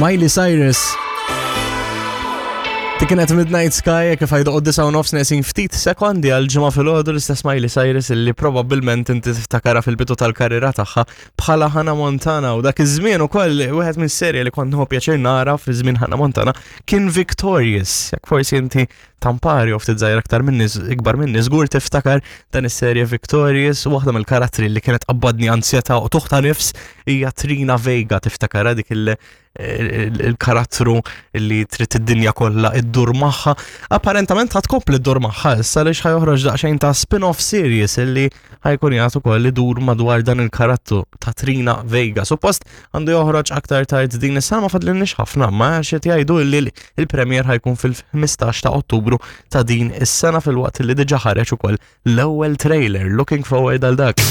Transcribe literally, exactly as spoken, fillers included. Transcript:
Miley Cyrus. Dik kienet Midnight Sky, kif għajdu disa' u nofs neqsin ftit sekondi għal ġimgħa filgħodu, l-istess Miley Cyrus illi probabbilment inti tiftakarha fil-bidu tal-karriera tagħha bħala Hannah Montana, u dak iż-żmien ukoll wieħed minn serje li kont nieħu pjaċir nara fi żmien Hannah Montana kien Victorious. Jekk forsi inti tampari u ftit żgħir aktar minni, ikbar minni, żgur tiftakar dan is-serje Victorious, u waħda mill-karattri li kienet qabbadni ansjetà u tuħta nifs hija Trina Vega. Tiftakara dik il- il-karattru li trid id-dinja kollha iddur magħha? Apparentament ħa tkompli ddur magħha issa għaliex ħa joħroġ daqsxejn ta' spin-off series illi ħa jkun jagħtu ukoll idur madwar dan il-karattru ta' Trina Vega. Suppost għandu joħroġ aktar tard din is-sena, ma fadlilniex ħafna, ma xi jgħidu li il-premier ħa jkun fil-ħmistax ta' Ottubru ta' din is-sena, filwaqt li diġà ħareġ ukoll l-ewwel trailer. Looking forward għal dak.